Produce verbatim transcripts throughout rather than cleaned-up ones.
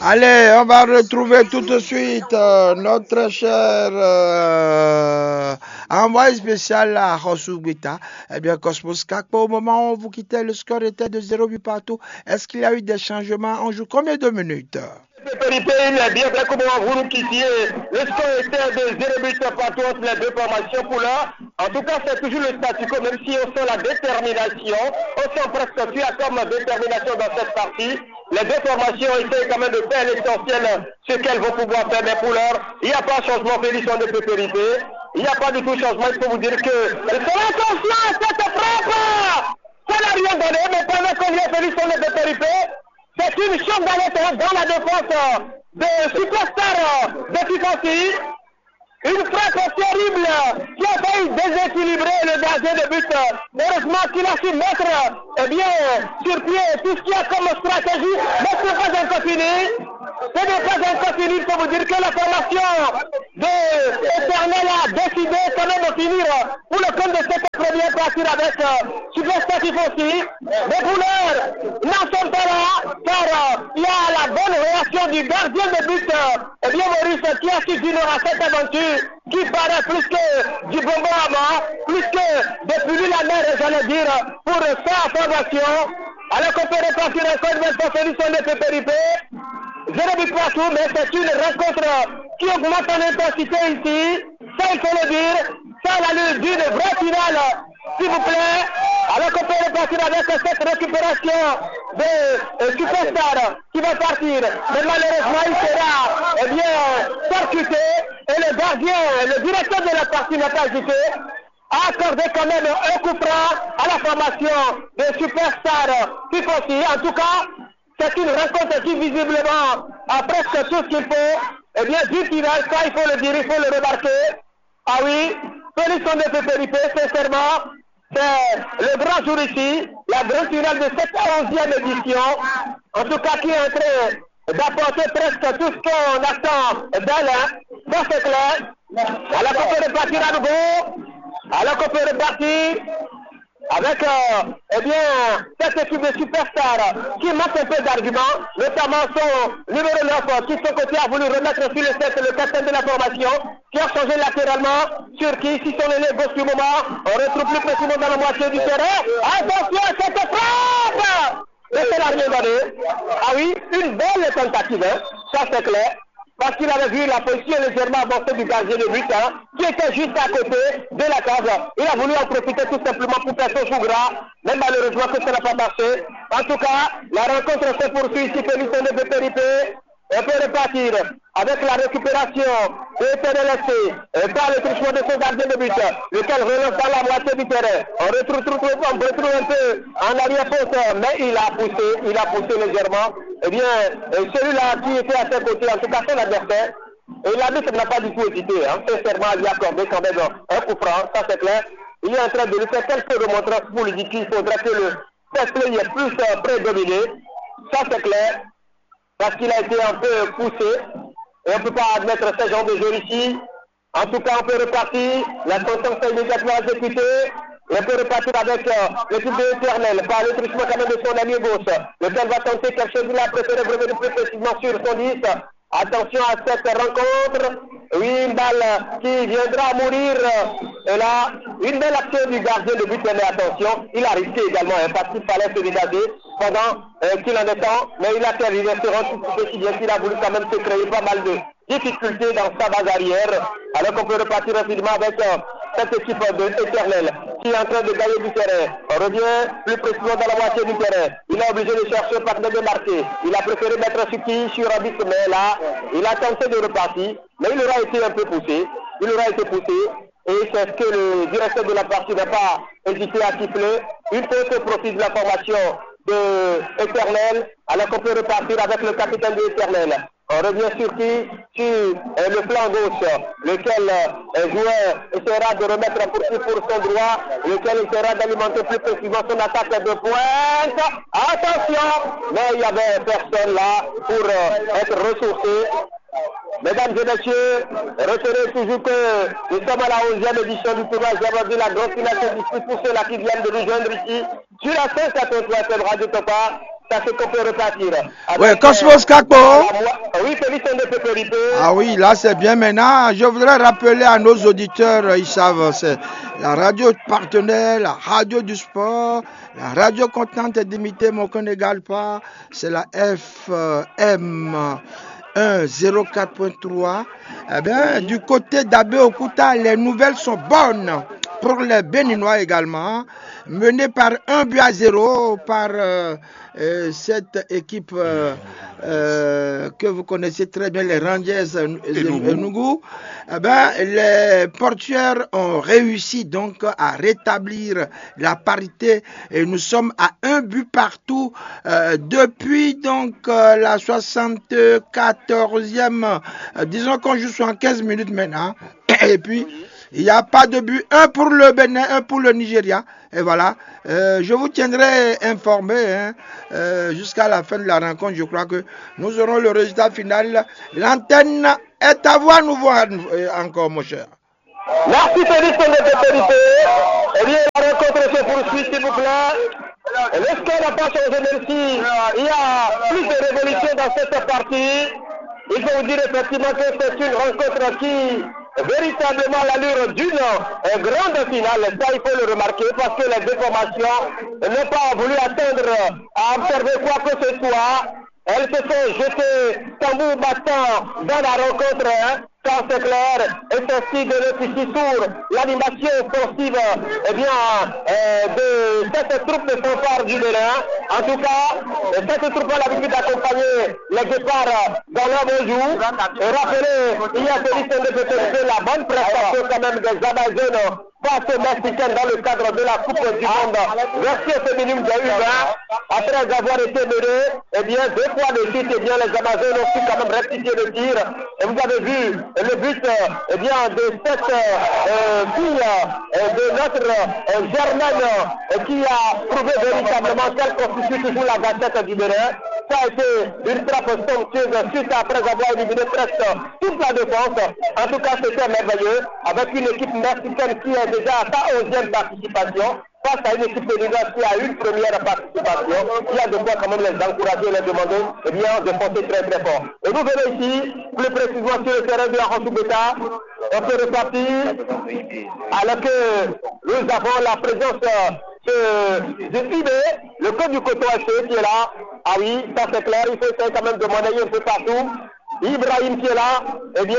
Allez, on va retrouver tout de suite euh, notre cher euh, envoyé spécial à Hosugbeta. Eh bien, Cosmos Kakpo, au moment où vous quittez, le score était de zéro but partout. Est-ce qu'il y a eu des changements? On joue combien de minutes? Pépé, il est bien vrai comme vous nous quittiez. Le score était de zéro but partout entre les deux formations pour l'heure. En tout cas, c'est toujours le statu quo, même si on sent la détermination, on sent presque tu as comme détermination dans cette partie. Les deux formations essayent quand même de faire l'essentiel, ce qu'elles vont pouvoir faire, mais pour l'heure, il n'y a pas changement, Félix de Pépérité. Il n'y a pas du tout changement, il faut vous dire que... Cela concerne cette frappe. Ça n'a rien donné, mais pendant qu'on y est, Félix de Pépérité, c'est une chance d'aller dans la défense de superstar de Fifancy. Une frappe terrible qui a failli déséquilibrer le gardien de but. Heureusement qu'il a su mettre eh bien, sur pied tout ce qu'il y a comme stratégie, mais ce n'est pas encore fini. Ce n'est pas encore fini, il faut vous dire que la formation de Éternel a décidé quand même de finir pour le compte de cette première partie avec euh, Superstatif aussi. Mais pour l'heure, n'en sommes pas là, car euh, il y a la bonne réaction du gardien de but, euh, eh bien Maurice, qui a su d'une à cette aventure qui paraît plus que du bonbon à mort, plus que des pilules amères, j'allais dire, pour sa formation. Alors qu'on peut repartir encore une fois, Félix de Pépérité. Zéro but partout, mais c'est une rencontre qui augmente en intensité ici. Ça, il faut le dire. Ça a l'allure d'une vraie finale, s'il vous plaît. Alors qu'on peut repartir avec cette récupération de euh, superstar qui va partir. Mais malheureusement, il sera eh bien, percuté. Et le gardien, le directeur de la partie n'a pas hésité, a accordé quand même un coup franc à la formation de superstar Fifancy. En tout cas, c'est une rencontre qui visiblement a presque tout ce qu'il faut. Eh bien, du final, ça, il faut le dire, il faut le remarquer. Ah oui, Félix de Pépérité, sincèrement, c'est le grand jour ici, la grande finale de cette onzième édition. En tout cas, qui est en train d'apporter presque tout ce qu'on attend d'elle. Hein. Ça, c'est clair. À la coupe de partir à nouveau. À la coupe de partir avec euh, eh bien, cette équipe de superstars qui manque un peu d'arguments, notamment son numéro neuf qui, de son côté, a voulu remettre sur le set le capitaine de la formation, qui a changé latéralement, sur qui, si son ailier gauche du moment, on retrouve plus précisément dans la moitié du terrain. Attention à cette frappe! Mais c'est la rien donné. Ah oui, une belle tentative, hein. Ça c'est clair. Parce qu'il avait vu la position légèrement avancée du gardien de but, hein, qui était juste à côté de la case. Il a voulu en profiter tout simplement pour faire son coup gras, mais malheureusement que ça n'a pas marché. En tout cas, la rencontre se poursuit ici, Félix de Pépérité. On peut repartir avec la récupération de T D L S C euh, par le truchement de son gardien de but, lequel relance dans la moitié du terrain. On retrouve, retrouve, on retrouve un peu en arrière-poste, mais il a poussé, il a poussé légèrement. Eh bien, euh, celui-là qui était à ses côtés, en tout cas son adversaire, et l'arbitre n'a pas du tout hésité, hein, sincèrement, à lui accorder quand même un coup franc, ça c'est clair. Il est en train de lui faire quelques remontrances pour lui dire qu'il faudra que le fair play est plus euh, prédominé, ça c'est clair, parce qu'il a été un peu poussé, et on ne peut pas admettre ce genre de jeu ici. En tout cas, on peut repartir, la sentence est immédiatement exécutée, et on peut repartir avec euh, l'équipe de Éternel, par le truchement quand même de son ami gauche, lequel va tenter quelque chose, il a préféré revenir plus précisément sur son dix. Attention à cette rencontre. Oui, une balle qui viendra mourir. Et là, une belle action du gardien de but, mais attention, il a risqué également, hein, parce qu'il fallait se dégager pendant euh, qu'il en est temps, mais il a fait, il se rend tout petit bien qu'il a voulu quand même se créer pas mal de difficultés dans sa base arrière, alors qu'on peut repartir rapidement avec euh, cette équipe de Éternel qui est en train de gagner du terrain. On revient plus précisément dans la moitié du terrain. Il est obligé de chercher un partenaire de marquer. Il a préféré mettre Suki sur Abis, mais là, il a tenté de repartir, mais il aura été un peu poussé. Il aura été poussé. Et c'est ce que le directeur de la partie n'a pas hésité à siffler. Une faute au profit de la formation de Éternel, alors qu'on peut repartir avec le capitaine de Éternel. On revient sur qui? Sur euh, le flanc gauche, lequel euh, joueur essaiera de remettre pour qui pour son droit, lequel essaiera d'alimenter plus précisément son attaque de pointe. Attention, mais il y avait personne là pour euh, être ressourcé. Mesdames et messieurs, retenez toujours que nous sommes à la onzième édition du tournoi Javadi. La grande finale se dispute pour ceux-là qui viennent de nous joindre ici sur la cent quatre-vingt-trois F M Radio Topa. Sachez qu'on peut repartir. Ouais, avec, Cosmos euh, Kakpo. La moi-, oui, Félix Sende Pépérité. Ah oui, là c'est bien maintenant. Je voudrais rappeler à nos auditeurs, euh, ils savent, c'est la radio partenaire, la radio du sport, la radio contente d'imiter, mais qu'on n'égale pas, c'est la F M un zéro quatre point trois. Eh bien, du côté d'Abeokuta, les nouvelles sont bonnes pour les Béninois également, menés par un but à zéro par euh, euh, cette équipe euh, euh, que vous connaissez très bien, les Rangers euh, Enugu. Enugu. Eh ben, les portuaires ont réussi donc à rétablir la parité et nous sommes à un but partout euh, depuis donc euh, la soixante-quatorzième, euh, disons qu'on joue soixante-quinze minutes maintenant. Et puis, il n'y a pas de but, un pour le Bénin, un pour le Nigeria. Et voilà, euh, je vous tiendrai informé, hein, euh, jusqu'à la fin de la rencontre. Je crois que nous aurons le résultat final. L'antenne est à vous à nouveau, euh, encore, mon cher. Merci, Félix, de tes qualités. Eh bien, la rencontre se poursuit, s'il vous plaît. Le score n'a pas changé, même si il y a plus de révolution dans cette partie. Il faut vous dire effectivement que c'est une rencontre qui, véritablement, à l'allure d'une euh, grande finale. Ça, il faut le remarquer parce que les deux formations n'ont pas voulu attendre à observer quoi que ce soit. Elles se sont jetées tambour battant dans la rencontre, hein. Ça, c'est clair. Et c'est ce qui donne ici sur l'animation offensive, eh bien, euh, de cette troupe de fanfare du Bénin. En tout cas, euh, cette troupe a l'habitude d'accompagner les départs dans leur bon jour. Et rappelez, il y a celui qui de la bonne prestation quand même des Amazones face aux Mexicains dans le cadre de la Coupe du Monde version féminine des U vingt. Après avoir été menés, eh bien, deux fois de suite, eh bien, les Amazones ont su quand même rectifier le tir. Et vous avez vu le but, euh, eh bien, de cette euh, fille euh, de notre euh, Germaine euh, qui a prouvé véritablement qu'elle constitue toujours la gâchette du Bénin. Ça a été une frappe somptueuse suite après avoir éliminé presque toute la défense. En tout cas, c'était merveilleux avec une équipe mexicaine qui est déjà à sa onzième participation face à une équipe béninoise qui a une première participation. Il y a de quoi quand même les encourager et leur demander eh bien, de foncer très très fort. Et nous venons ici, plus précisément sur le terrain de la Beta. On peut repartir alors que nous avons la présence euh, de, de Ibé, le code du coton F C qui est là. Ah oui, ça c'est clair, il faut essayer quand même de monnayer un peu partout. Ibrahim qui est là, eh bien,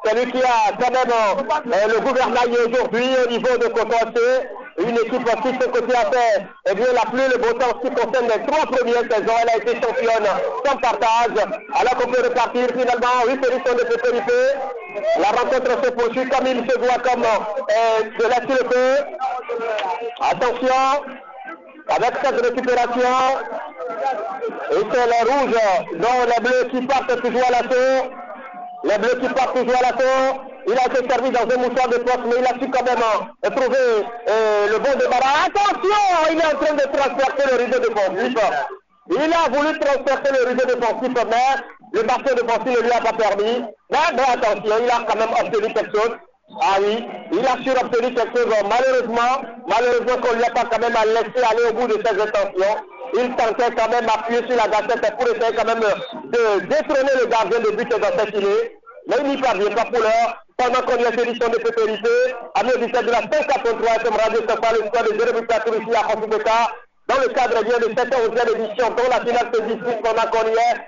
c'est lui qui a quand même euh, le gouvernail aujourd'hui au niveau de Coton F C. Une équipe qui, de son côté, a fait eh bien, la pluie, le beau temps, ce qui concerne les trois premières saisons, elle a été championne sans partage. Alors qu'on peut repartir finalement, oui, c'est l'histoire de Pépérité. La rencontre se poursuit comme il se doit, comme euh, de la le Attention, avec cette récupération, et c'est les rouges, dont les bleus qui partent toujours à l'assaut. Les bleus qui partent toujours à l'assaut. Il a été servi dans un mouchoir de poche, mais il a su quand même euh, trouver euh, le bon débarras. Attention, il est en train de transpercer le rideau défensif. Il a voulu transpercer le rideau défensif, mais le bastion défensif ne lui a pas permis. Mais, mais attention, il a quand même obtenu quelque chose. Ah oui, il a su obtenir quelque chose. Malheureusement, malheureusement qu'on ne lui a pas quand même laissé aller au bout de ses intentions. Il tentait quand même d'appuyer sur la gâchette pour essayer quand même de détrôner le gardien de but dans cette îlée. Mais il n'y parvient pas pour l'heure. Pendant qu'on y a solution de pépérité, à mieux de la cinq quatre trois F M Radio Safari, le score de zéro but partout ici à Kofibeka. Dans le cadre bien de cette onzième édition dont la finale se dispute pendant qu'on y est,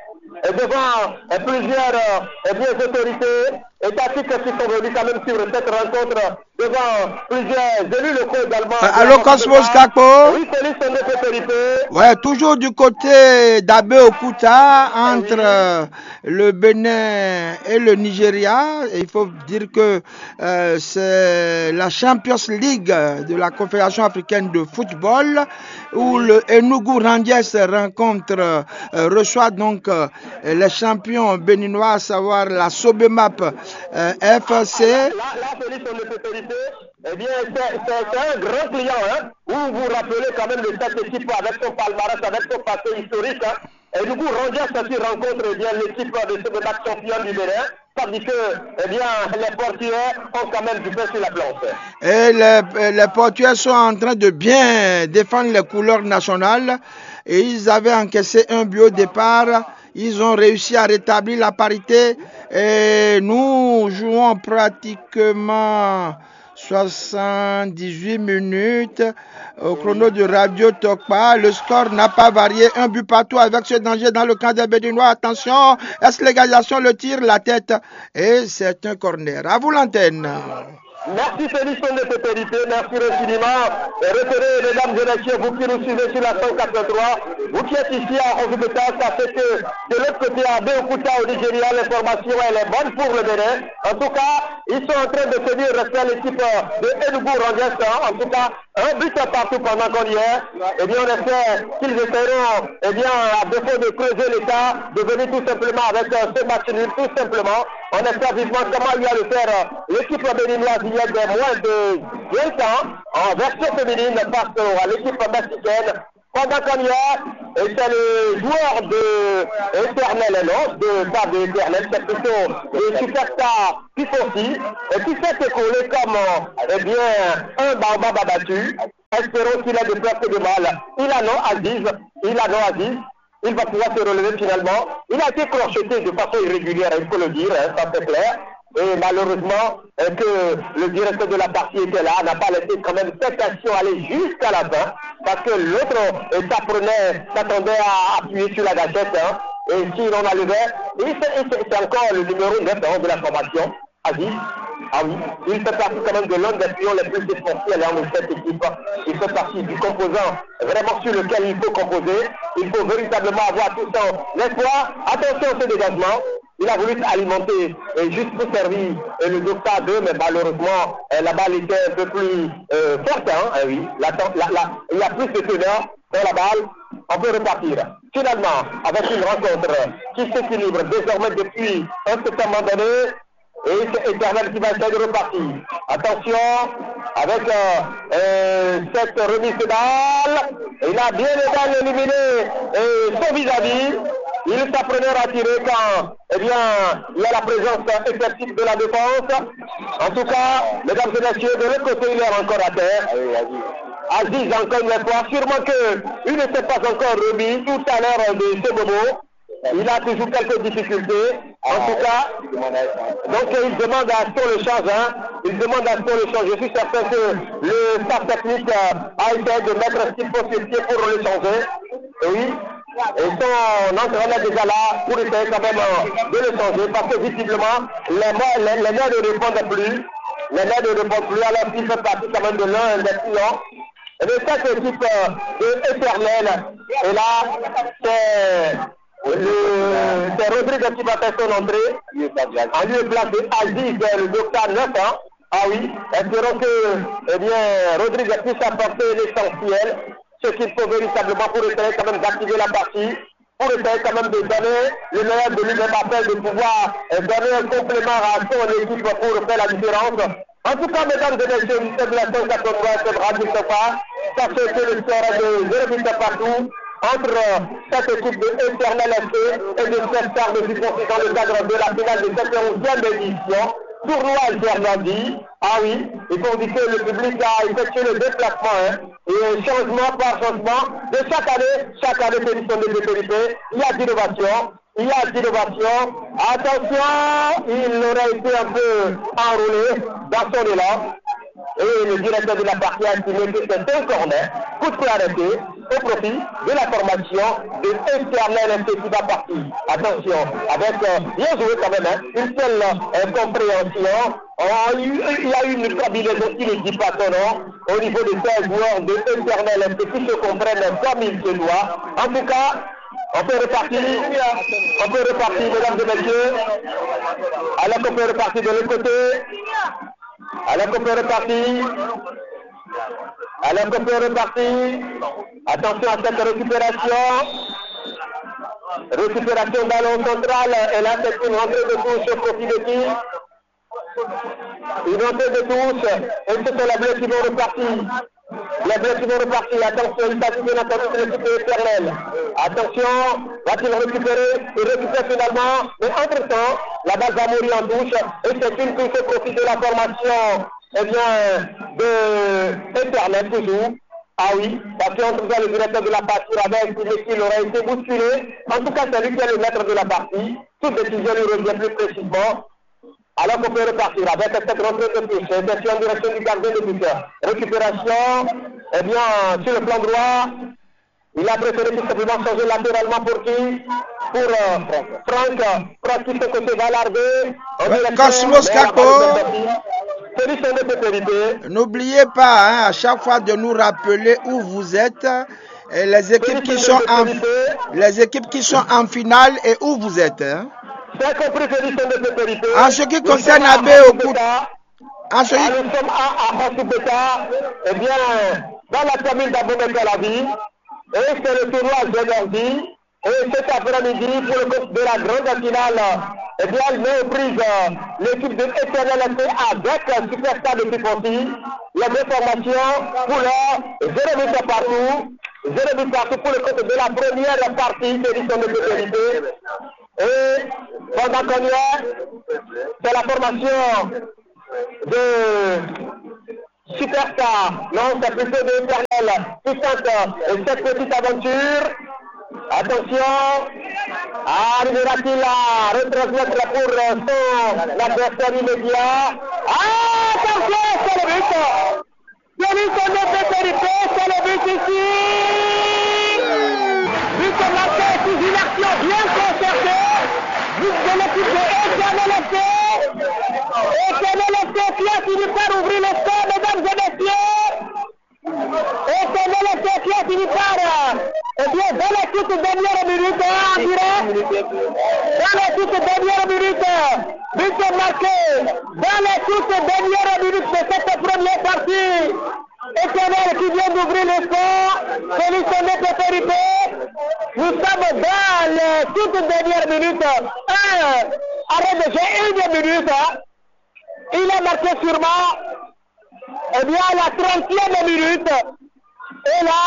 et devant euh, plusieurs euh, eh bien, autorités étatiques qui sont venus quand même suivre cette rencontre, devant plusieurs élus locaux également. Euh, allô, Cosmos Kakpo ? Oui, Félix, on est autorité. Ouais, toujours du côté d'Abeokuta, entre euh, le Bénin et le Nigeria. Et il faut dire que euh, c'est la Champions League de la Confédération africaine de football où le Enugu Rangers rencontre, euh, reçoit donc euh, les champions béninois, à savoir la Sobemap euh, F C. Là, là, Félix, on ne peut éviter. Eh bien, c'est c'est- c'est un grand client, hein. Vous vous rappelez quand même de cette équipe avec son palmarès, avec son passé historique, hein. Et du coup, Rangers aussi rencontre eh bien l'équipe de Sobemap champion du Bénin. Ça veut dire que eh bien, les portiers ont quand même du pain sur la planche. Et les, les portiers sont en train de bien défendre les couleurs nationales. et ils avaient encaissé un but au départ. Ils ont réussi à rétablir la parité. Et nous jouons pratiquement soixante-dix-huit minutes au chrono de Radio Tokpa. Le score n'a pas varié. Un but partout avec ce danger dans le camp des Béninois. Attention, est-ce l'égalisation, le tir, la tête? Et c'est un corner. À vous l'antenne. Merci Félix de Pépérité, merci infiniment. Et retenez, mesdames et messieurs, vous qui nous suivez sur la cent quatre-vingt-trois, vous qui êtes ici à Ozubetas, sachez que de l'autre côté, à Abeokuta au Nigeria, l'information elle est bonne pour le Bénin. En tout cas, ils sont en train de se dire rester à l'équipe de Enugu Rangers, hein. En tout cas, un but partout pendant qu'on y est. Eh bien, on espère qu'ils essaieront, eh bien, à défaut de creuser l'état, de venir tout simplement avec euh, ce match nul, tout simplement. On espère vivement comment il y a de faire euh, l'équipe béninoise hier des moins de vingt ans en version féminine face à l'équipe mexicaine. Pendant qu'on y est, et c'est le joueur de Éternel, non, de, pas de Éternel, c'est plutôt le superstar Pifosi, et qui s'est écoulé comme, euh, eh bien, un baobab abattu. Espérons qu'il ait de peur que de mal. Il a non Aziz, il a non Aziz. Il va pouvoir se relever finalement. Il a été crocheté de façon irrégulière, il faut le dire, hein, ça c'est clair. Et malheureusement, euh, que le directeur de la partie était là, n'a pas laissé quand même cette action aller jusqu'à la fin, parce que l'autre euh, s'apprenait, s'attendait à appuyer sur la gâchette, hein. Et si l'on enlevait, et c'est, et c'est- c'est encore le numéro neuf, hein, de la formation, Aziz. Ah oui, il fait partie quand même de l'un des pions les plus essentiels, hein, de cette équipe. Il fait partie du composant vraiment sur lequel il faut composer. Il faut véritablement avoir tout son espoir. Attention à ce dégagement. Il a voulu alimenter euh, juste pour servir euh, le Docta deux, mais malheureusement, euh, la balle était un peu plus euh, forte. Hein, eh oui. La, la, la, il y a plus de teneur dans la balle. On peut repartir. Finalement, avec une rencontre qui s'équilibre désormais depuis un certain moment donné, et c'est Éternel qui va essayer de repartir. Attention, avec euh, euh, cette remise de balle, il a bien aidé à éliminer euh, son vis-à-vis. Il s'apprenait à tirer quand eh bien, il y a la présence effective de la défense. En tout cas, mesdames et messieurs, de l'autre côté, il est encore à terre. Aziz, encore une fois, sûrement qu'il ne s'est pas encore remis tout à l'heure de ce bobo. Il a toujours quelques difficultés. En tout cas, donc il demande à ce qu'on le change. Hein. Il demande à ce qu'on le change. Je suis certain que le staff technique euh, a essayé de mettre ce qu'il faut sur pied pour le changer. Oui. Et son entraîneur est déjà là pour essayer quand même euh, de le changer parce que visiblement, les, mo- les, les nerfs ne répondent plus. Les nerfs ne répondent plus alors qu'il fait partie quand même de l'un des clients. Et de cette équipe euh, de éternelle. Et là, c'est le- c'est Rodrigue qui va faire son entrée. En lieu et place de Aziz, euh, le Docta neuf ans. Ah oui, espérons que eh bien, Rodrigue puisse apporter l'essentiel, ce qu'il faut véritablement pour essayer quand même d'activer la partie, pour essayer quand même de donner le meilleur de lui-même afin de pouvoir euh, donner un complément à son équipe pour faire la différence. En tout cas, mesdames et messieurs, nous sommes la cent quatre-vingt-trois F M Radio Sofa. Sachez que le score est de zéro but partout entre euh, cette équipe de Éternel F C et de cette star de Dupont dans le cadre de la finale de cette onzième édition. Tournoi Zernavi. Ah oui, il faut dire que le public a effectué le déplacement. Hein. Et changement par changement, de chaque année, chaque année, c'est une de péripéties. Il y a d'innovation, il y a d'innovation. Attention, il aurait été un peu enrôlé dans son élan. Et le directeur de la partie a estimé que c'est un corner, coup de pied arrêté, au profit de la formation de Éternel F C qui va partir. Attention, avec euh, bien joué quand même, hein, une telle euh, compréhension. Oh, il y a eu une combinaison qui ne dit pas son nom au niveau de ces joueurs de Éternel F C qui se comprennent comme il se doit. En tout cas, on peut repartir, on peut repartir, mesdames et messieurs. Alors qu'on peut repartir de l'autre côté. Alors qu'on peut repartir. Alors qu'on peut repartir. Attention à cette récupération. Récupération ballon central. Et là, c'est une rentrée de touche au profit de qui? Une rentrée de touche. Et ce sont les bleus qui vont repartir. Les bleus qui vont repartir. Attention, il s'agit bien entendu de l'équipe éternelle. Attention, va-t-il récupérer? Il récupère finalement. Mais entre-temps, la balle va mourir en touche. Et c'est une touche au profit de la formation eh bien, de Internet toujours. Ah oui, parce qu'en tout cas, le directeur de la partie avait estimé qu'il aurait été bousculé. En tout cas, c'est lui qui est le maître de la partie. Toute décision lui revient plus précisément. Alors qu'on peut repartir avec cette rentrée de touche. C'était en direction du gardien de but. Récupération, eh bien, sur le plan droit, il a préféré tout simplement changer latéralement pour qui Pour euh, Franck, Franck qui se côté va larguer. On dirait que Cosmos Kakpo. Celui son de sécurité. N'oubliez pas, hein, à chaque fois de nous rappeler où vous êtes, et les équipes qui sont en, les équipes qui sont en finale et où vous êtes, hein. C'est compris, celui son de sécurité. En ce qui concerne Abé Okuta, en ce qui... Ah, nous sommes à, à Hossougbeta, eh bien, dans la commune d'Abomey-Calavi, et c'est le tournoi Géverdi. Et cet après-midi, pour le compte de la grande finale, eh bien, elle met aux prises euh, l'équipe de Éternel F C avec euh, Superstar de Piponti. Les deux formations, couleur, zéro but partout. Zéro but partout pour le compte de la première partie de l'édition de sécurité. Et pendant qu'on y est, c'est la formation de Superstar, non, c'est plutôt de Éternel qui tente euh, cette petite aventure. Attention, arrivera-t-il à retransmettre pour euh, son adversaire immédiat? Ah, attention, c'est le but! Celui son de sécurité, c'est le but ici! But marqué sous une action bien concertée, but de l'équipe de Éternel F C. Éternel F C qui a fini par ouvrir le score, mesdames et messieurs. Éternel F C qui a fini par, euh, eh bien, dans les toutes dernières minutes, hein, on dirait. Dans les toutes dernières minutes, euh, but marqué dans les toutes dernières minutes de cette première partie. Éternel qui vient d'ouvrir le score, celui son de sécurité. Nous sommes dans les toutes dernières minutes. Un arrêt de jeu, une minute, hein. Il a marqué sûrement, eh bien, à la trentième minute. Et là,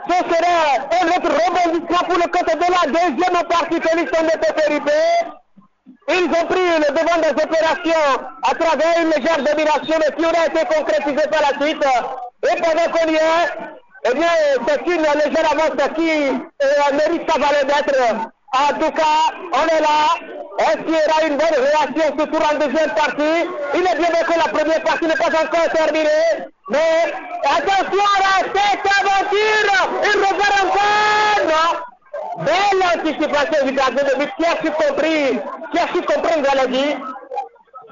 ce serait un autre rebondissement pour le compte de la deuxième partie, celui son de sécurité. Ils ont pris le devant des opérations à travers une légère domination, mais qui aurait été concrétisée par la suite. Et pendant qu'on y est, eh bien, c'est une légère avance qui euh, mérite sa valeur d'être. En tout cas, on est là. Est-ce qu'il y aura une bonne réaction ce tour en deuxième partie? Il est bien vrai que la première partie n'est pas encore terminée, mais attention à cette aventure, il repart encore, non? Belle anticipation du gardien de but qui a su compris, qui a su comprendre, voilà dit,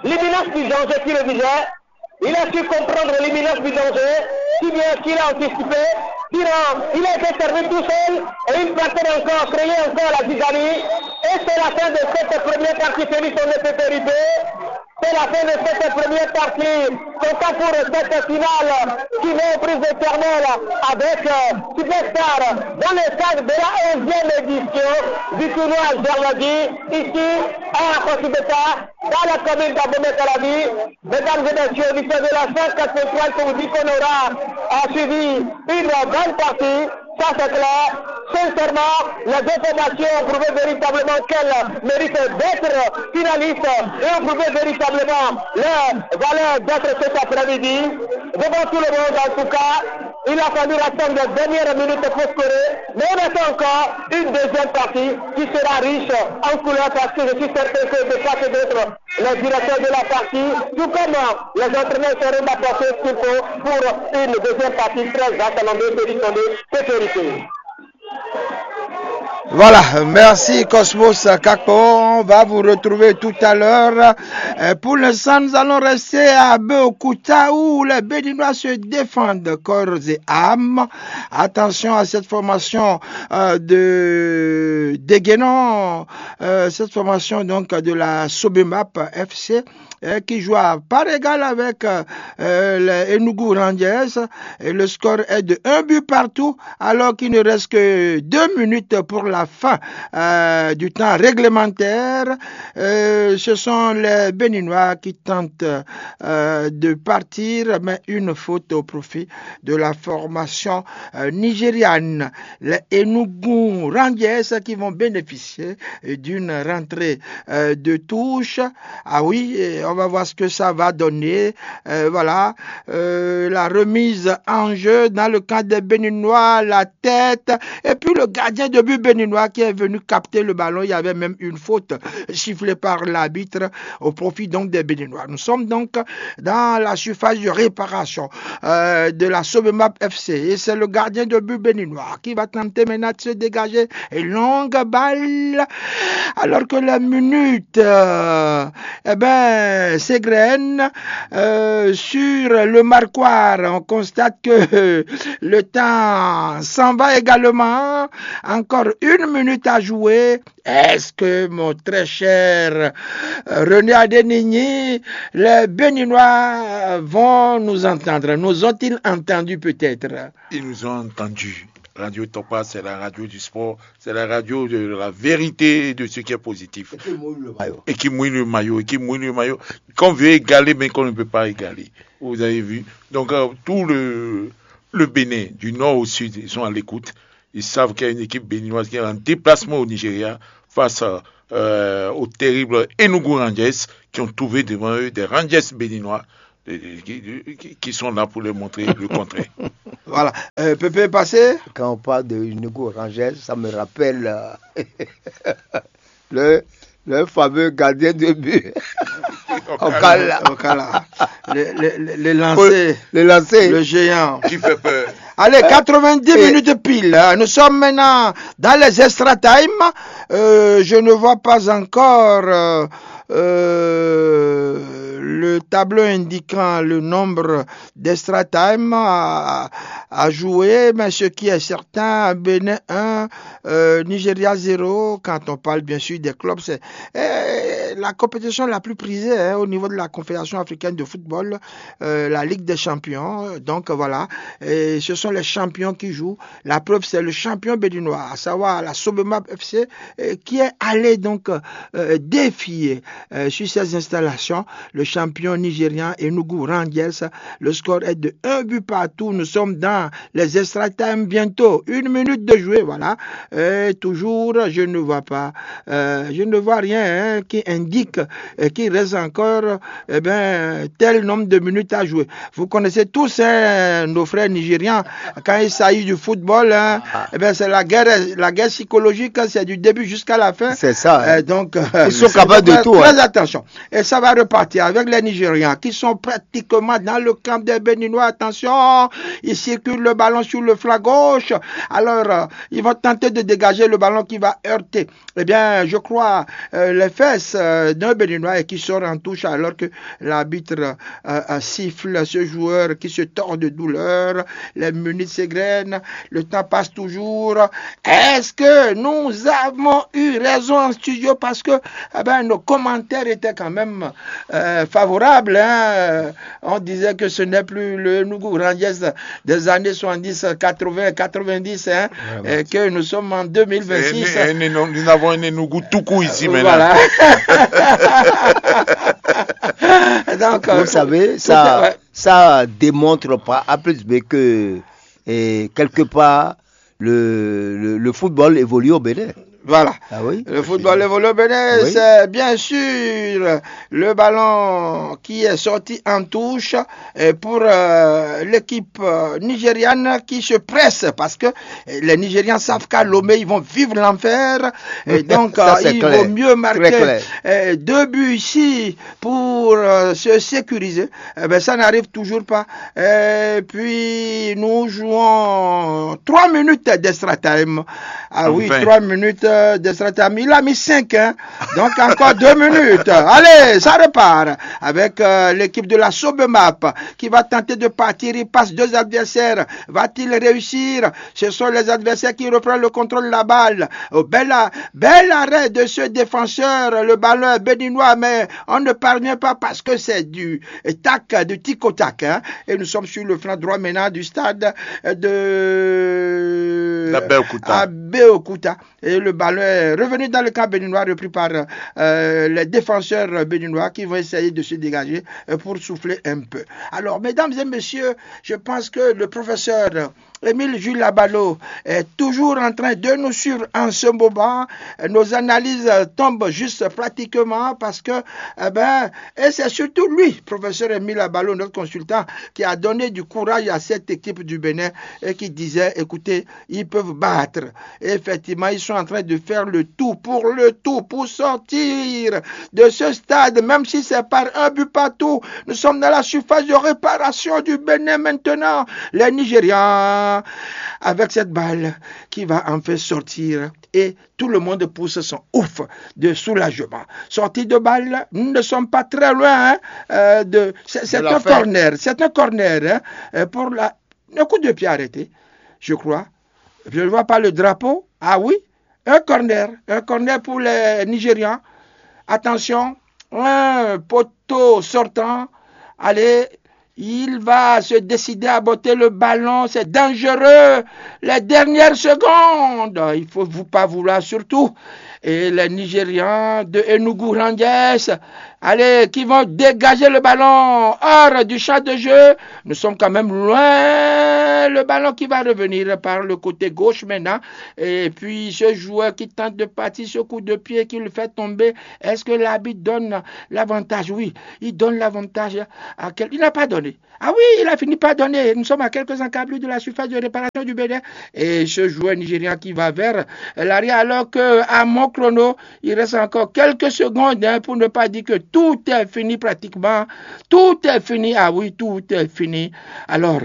l'imminence du danger qui le visait. Il a su comprendre l'imminence du danger, si bien qu'il a anticipé. Sinon, il a été servi tout seul et il partait encore, créer encore la zizanie. Et c'est la fin de cette première partie, celui son de sécurité. C'est la fin de cette première partie. Comptant pour cette finale qui met aux prises éternelles avec euh, Superstar dans le cadre de la onzième édition du tournoi Germadi, ici à Kosibeta, dans la commune d'Abomey-Calavi. Mesdames et messieurs, l'histoire de la cent quatre-vingt-trois, je vous dis qu'on aura euh, suivi une bonne partie. Ça, c'est clair. Sincèrement, les deux formations ont prouvé véritablement qu'elles méritent d'être finalistes et ont prouvé véritablement leur valeur d'être cet après-midi. Devant tout le monde, en tout cas, il a fallu attendre la dernière minute pour scorer, mais on attend encore une deuxième partie qui sera riche en couleurs parce que je suis certain que de part et d'autre, les directeurs de la partie, tout comme les entraîneurs, seront d'apporter ce qu'il faut pour une deuxième partie très achalandée, sollicitée, sécurisée. Voilà, merci Cosmos Kakpo. On va vous retrouver tout à l'heure. Euh, Pour l'instant, nous allons rester à Beokuta où les Béninois se défendent corps et âme. Attention à cette formation euh, de Déguénon, euh, cette formation donc de la Sobemap F C euh, qui joue à part égale avec euh, euh, les Enugu Rangers. Et le score est de un but partout alors qu'il ne reste que deux minutes pour la la fin euh, du temps réglementaire. Euh, ce sont les Béninois qui tentent euh, de partir, mais une faute au profit de la formation euh, nigériane. Les Enugu Rangers qui vont bénéficier d'une rentrée euh, de touche. Ah oui, on va voir ce que ça va donner. Euh, voilà, euh, la remise en jeu dans le camp des Béninois, la tête. Et puis le gardien de but béninois qui est venu capter le ballon. Il y avait même une faute sifflée par l'arbitre au profit donc des Béninois. Nous sommes donc dans la surface de réparation euh, de la Sobemap F C. Et c'est le gardien de but béninois qui va tenter maintenant de se dégager. Et longue balle. Alors que la minute, euh, eh ben, s'égrène euh, sur le marquoir. On constate que le temps s'en va également. Encore une minute à jouer. Est-ce que, mon très cher euh, René Adénigny, les Béninois vont nous entendre? Nous ont-ils entendu peut-être? Ils nous ont entendus. Radio Topa, c'est la radio du sport, c'est la radio de la vérité et de ce qui est positif. Et qui mouille le maillot, et qui mouille le maillot. Qu'on veut égaler, mais qu'on ne peut pas égaler. Vous avez vu. Donc, euh, tout le, le Bénin, du nord au sud, ils sont à l'écoute. Ils savent qu'il y a une équipe béninoise qui est en déplacement au Nigeria face euh, aux terribles Enugu Rangers qui ont trouvé devant eux des Rangers béninois euh, qui, qui- qui sont là pour leur montrer le contraire. Voilà. Euh, Pépé est passé. Quand on parle de Enugu Rangers, ça me rappelle euh, le, le fameux gardien de but. Okala. Okala. Le, le, le- le lancer. Le lancer. Le géant. Qui fait peur. Allez, quatre-vingt-dix minutes pile. Hein. Nous sommes maintenant dans les extra time. Euh, je ne vois pas encore euh, euh, le tableau indiquant le nombre d'extra time à, à jouer, mais ce qui est certain, Bénin un, euh, Nigeria zéro, quand on parle bien sûr des clubs, c'est euh, la compétition la plus prisée hein, au niveau de la Confédération africaine de football, euh, la Ligue des champions. Donc voilà, et ce sont les champions qui jouent. La preuve, c'est le champion béninois, à savoir la Sobemap F C, euh, qui est allé donc euh, défier euh, sur ces installations le champion nigérian Enugu Rangers. Le score est de un but partout. Nous sommes dans les extra time bientôt. Une minute de jouer, voilà. Et toujours, je ne vois pas, euh, je ne vois rien hein, qui indique euh, qu'il reste encore eh ben, tel nombre de minutes à jouer. Vous connaissez tous hein, nos frères nigérians, quand il s'agit du football, hein, eh ben, c'est la guerre, la guerre psychologique, hein, c'est du début jusqu'à la fin. C'est ça. Hein. Euh, donc, euh, Ils sont capables de donc, tout. Très Hein. Attention. Et ça va repartir avec les Nigérians qui sont pratiquement dans le camp des Béninois. Attention, ils circulent le ballon sur le flanc gauche. Alors, euh, ils vont tenter de dégager le ballon qui va heurter, eh bien, je crois, euh, les fesses euh, d'un Béninois et qui sort en touche alors que l'arbitre euh, euh, siffle ce joueur qui se tord de douleur. Les minutes s'égrènent, le temps passe toujours. Est-ce que nous avons eu raison en studio parce que eh ben, nos commentaires étaient quand même euh, favorables hein. On disait que ce n'est plus le Enugu Rangers des années soixante-dix, quatre-vingts, quatre-vingt-dix, hein, et que nous sommes en deux mille vingt-six. Et nous, nous avons un Enugu tout court ici maintenant. Voilà. Donc, euh, Vous savez, tout- ça, ouais. Ça démontre pas A plus B que et quelque part le, le, le football évolue au Bénin. Voilà. Ah oui. Le football évolue au Bénin, Oui. C'est bien sûr le ballon qui est sorti en touche et pour euh, l'équipe euh, nigériane qui se presse parce que euh, les Nigérians savent qu'à Lomé, ils vont vivre l'enfer. Et donc, Ça, euh, c'est il clair. Vaut mieux Très marquer clair. euh, deux buts ici pour euh, se sécuriser. Eh ben, ça n'arrive toujours pas. Et puis, nous jouons trois minutes d'extra time. Ah oui, Enfin. Trois minutes euh, d'extra time. Il a mis cinq, hein. Donc, encore deux minutes. Allez, ça repart avec euh, l'équipe de la Sobemap qui va tenter de partir. Il passe deux adversaires. Va-t-il réussir? Ce sont les adversaires qui reprennent le contrôle de la balle. Oh, bel, a- bel arrêt de ce défenseur. Le ballon est béninois, mais on ne parvient pas parce que c'est du tac, du tic au tac. Hein. Et nous sommes sur le flanc droit maintenant du stade de D'Abeokuta. Ab- Abeokuta. Et le ballon est revenu dans le camp béninois, repris par euh, les défenseurs béninois qui vont essayer de se dégager euh, pour souffler un peu. Alors, mesdames et messieurs, je pense que le professeur Émile Jules Labalo est toujours en train de nous suivre en ce moment. Nos analyses tombent juste pratiquement parce que, eh ben, et c'est surtout lui, professeur Émile Labalo, notre consultant, qui a donné du courage à cette équipe du Bénin et qui disait, écoutez, ils peuvent battre. Et effectivement, ils sont en train de faire le tout pour le tout, pour sortir de ce stade, même si c'est par un but partout. Nous sommes dans la surface de réparation du Bénin maintenant. Les Nigérians, avec cette balle qui va enfin sortir et tout le monde pousse son ouf de soulagement. Sortie de balle, nous ne sommes pas très loin hein, euh, de... C'est un corner, c'est un corner hein, euh, pour la... Un coup de pied arrêté, je crois. Je ne vois pas le drapeau. Ah oui, un corner, un corner pour les Nigérians. Attention, un poteau sortant. Allez, il va se décider à botter le ballon. C'est dangereux. Les dernières secondes, il ne faut vous pas vouloir surtout. Et les Nigérians de Enugu Rangers, allez, qui vont dégager le ballon hors du champ de jeu. Nous sommes quand même loin. Le ballon qui va revenir par le côté gauche maintenant. Et puis ce joueur qui tente de partir, ce coup de pied qui le fait tomber, est-ce que l'arbitre donne l'avantage ? Oui, il donne l'avantage à quel... Il n'a pas donné. Ah oui, il a fini par donner. Nous sommes à quelques encablures de la surface de réparation du Bénin. Et ce joueur nigérian qui va vers l'arrière, alors que à mon chrono, il reste encore quelques secondes hein, pour ne pas dire que tout est fini pratiquement. Tout est fini. Ah oui, tout est fini. Alors,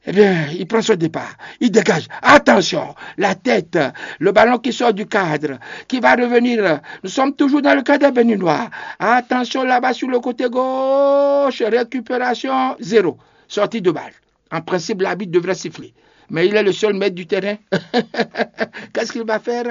eh bien, il prend son départ. Il dégage. Attention, la tête, le ballon qui sort du cadre, qui va revenir. Nous sommes toujours dans le cadre béninois. Attention là-bas sur le côté gauche. Récupération, zéro. Sortie de balle. En principe, l'arbitre devrait siffler. Mais il est le seul maître du terrain. Qu'est-ce qu'il va faire ?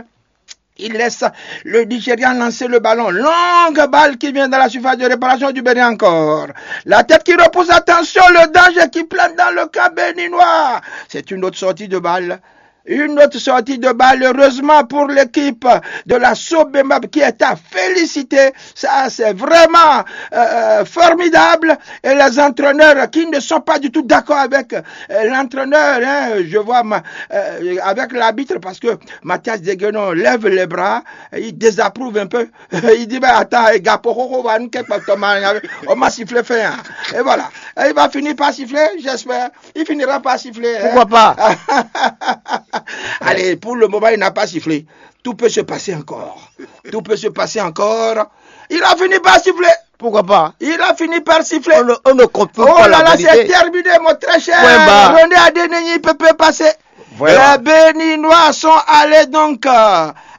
Il laisse le Nigérian lancer le ballon. Longue balle qui vient dans la surface de réparation du Bénin encore. La tête qui repousse, attention, le danger qui plane dans le camp béninois. C'est une autre sortie de balle. Une autre sortie de balle, heureusement pour l'équipe de la Sobemab qui est à féliciter. Ça, c'est vraiment euh, formidable. Et les entraîneurs qui ne sont pas du tout d'accord avec euh, l'entraîneur, hein, je vois ma- euh, avec l'arbitre, parce que Mathias Deguenon lève les bras, il désapprouve un peu. Il dit, mais attends, Gapo, on m'a sifflé fin. Et voilà. Et il va finir par siffler, j'espère. Il finira par siffler. Pourquoi pas ? Allez, pour le moment, il n'a pas sifflé. Tout peut se passer encore. Tout peut se passer encore. Il a fini par siffler. Pourquoi pas ? Il a fini par siffler. On ne, on ne compte pas. Oh là là, c'est terminé, mon très cher. René Adénéni peut passer. Voilà. Les Béninois sont allés donc euh,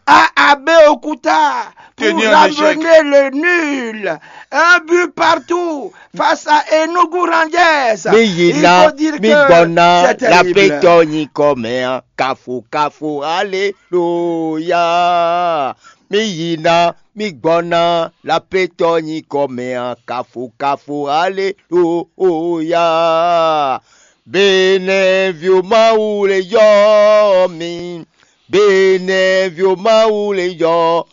à Abeokuta pour ramener le nul. Un but partout face à Enugu Rangers. Mi yina, mi gbɔna, la pétɔ nyi kɔmɛ, kafu kafu, alléluia. Mi yina, mi gbɔna, la pétɔ nyi kɔmɛ, kafu kafu, alléluia. Benɛvio Mawu le yɔ mi. Benɛvio Mawu le yɔ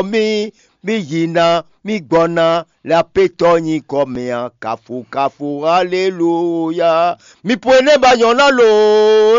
mi. Mi yina, mi gbɔna, la pétɔ nyi kɔmɛ, kafu kafu, alléluia. Mi pue ne ba nyɔna lo.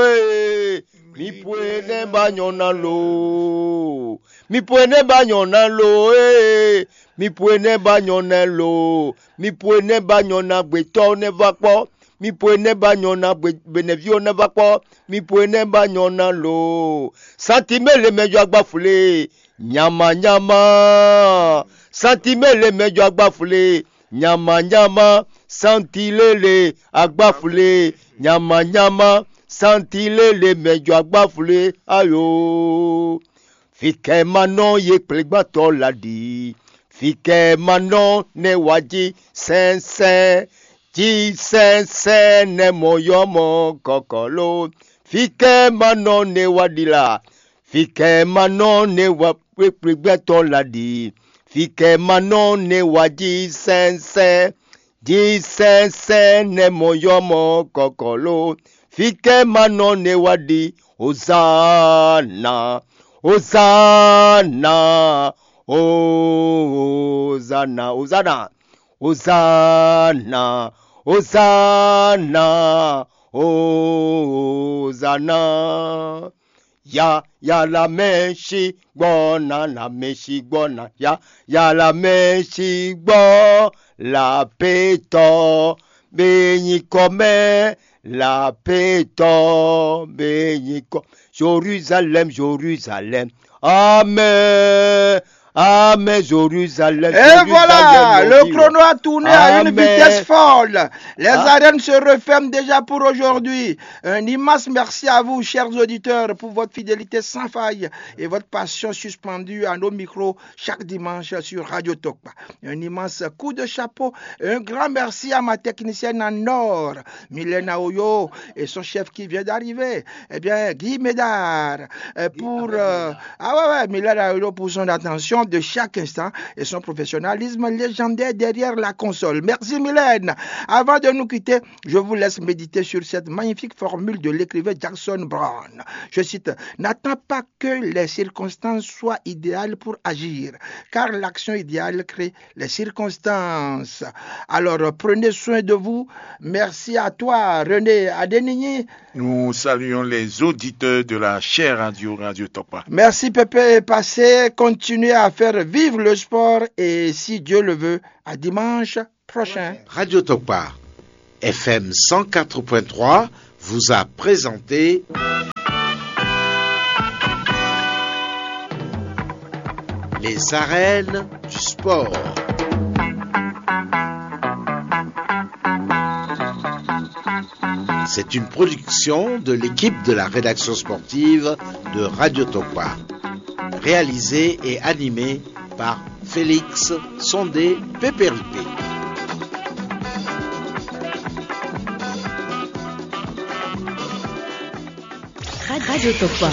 Ee. Mi pue ne ba nyɔna lo. Mi pue ne ba nyɔna lo. Ee. Mi pue ne ba nyɔna lo. Mi pue ne ba nyɔna gbetɔ ne va kpɔ. Mi pue ne ba nyɔna benɛvio ne va kpɔ. Mi pue ne ba nyɔna lo. Santi mɛ le mɛ jɔ agba fle. Nyama nyama. Santi mɛ le mɛ jɔ agba fle. Nyama nyama. Santi lele agba fle. Nyama nyama. Santi lele mɛ jɔ agba fle. Ayo. Fikɛ ma nɔ ye kplégbatɔ la ɖi. Fikɛ ma nɔ ne wa ji sɛnsɛn. Ji sɛnsɛn ne mɔ yɔ mɔ kɔkɔlo. Fikɛ ma nɔ ne wa ɖi la. Fikɛ ma nɔ ne wa kplégbatɔ la ɖi. Fikɛ ma nɔ ne wa ji sɛnsɛn. Ji sɛnsɛn ne mɔ yɔ mɔ kɔkɔlo. Fikɛ ma nɔ ne wa ɖi. Hozana. Hosanna, Hosanna, Hosanna, Hosanna, Hosanna. Ya, ya la mɛ si gbɔ na, la mɛ si gbɔ na, ya, ya la mɛ si gbɔ la pe tɔ be nyikɔ mɛ, la pe tɔ be nyikɔ. Jérusalem, Jérusalem. Amen. Amen, Jérusalem. Et Jérusalem, voilà, le chrono a tourné à une vitesse folle. Les arènes se referment déjà pour aujourd'hui. Un immense merci à vous, chers auditeurs, pour votre fidélité sans faille et votre passion suspendue à nos micros chaque dimanche sur Radio Tokpa. Un immense coup de chapeau, un grand merci à ma technicienne en or, Mylène Aoyo, et son chef qui vient d'arriver, eh bien, Guy Médard, euh, pour, euh, ah ouais, ouais, Mylène Aoyo pour son attention de chaque instant et son professionnalisme légendaire derrière la console. Merci Mylène. Avant de nous quitter, je vous laisse méditer sur cette magnifique formule de l'écrivain Jackson Brown. Je cite, n'attends pas que les circonstances soient idéales pour agir, car l'action idéale crée les circonstances. Alors, prenez soin de vous. Merci à toi, René Adenini. Nous saluons les auditeurs de la chère radio, Radio Topa. Merci, Pépé. Passez, continuez à faire vivre le sport et, si Dieu le veut, à dimanche prochain. Radio Topa, F M cent quatre point trois, vous a présenté les arènes du sport. C'est une production de l'équipe de la rédaction sportive de Radio Topa, réalisée et animée par Félix Sondé Pépéripé. Radio Topa.